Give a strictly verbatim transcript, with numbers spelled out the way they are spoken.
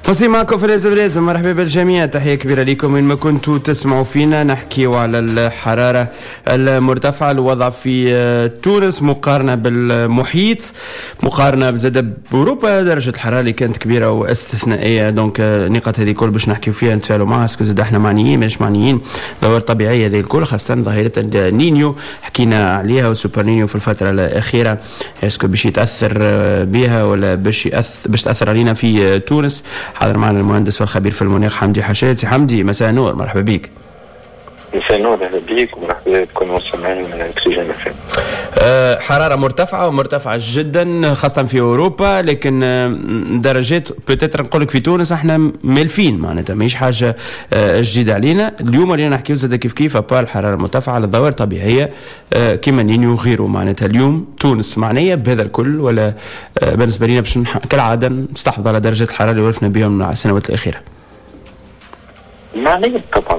مواصلين معكم في لازم لازم. مرحبا بالجميع، تحية كبيرة لكم وين ما كنتوا تسمعوا فينا. نحكيو على الحرارة المرتفعة، الوضع في تونس مقارنة بالمحيط، مقارنة بزاد بأوروبا، درجة الحرارة اللي كانت كبيرة واستثنائية. donc النقاط هذه الكل باش نحكيو فيها، نتفاعلوا معها. est-ce que زاد احنا معنيين مش معنيين؟ ظواهر طبيعية هذه الكل، خاصة ظاهرة النينيو حكينا عليها وسوبر نينيو في الفترة الأخيرة، est-ce que باش يتأثر بها ولا باش يأثر باش تأثر علينا في تونس؟ حاضر معنا المهندس والخبير في المناخ حمدي حشاد. سي حمدي، مساء النور، مرحبا بك. مساء النور، اهلا بك ومرحبا بكل المستمعين من اكسجين. أه حرارة مرتفعة ومرتفعة جدا خاصة في أوروبا، لكن آه، درجات peut-être نقول لك في تونس احنا مالفين، معناتها ماهيش حاجة آه، جديدة علينا. اليوم اللي نحكيو زاد كيف كيف à part الحرارة المرتفعة على الظواهر الطبيعية آه، كيما نينيو وغيره. معناتها اليوم تونس معنية بهذا الكل ولا بالنسبة لنا باش كالعادة نستحفظ على درجة الحرارة اللي ولفنا بهم السنوات الأخيرة؟ معنية طبعا.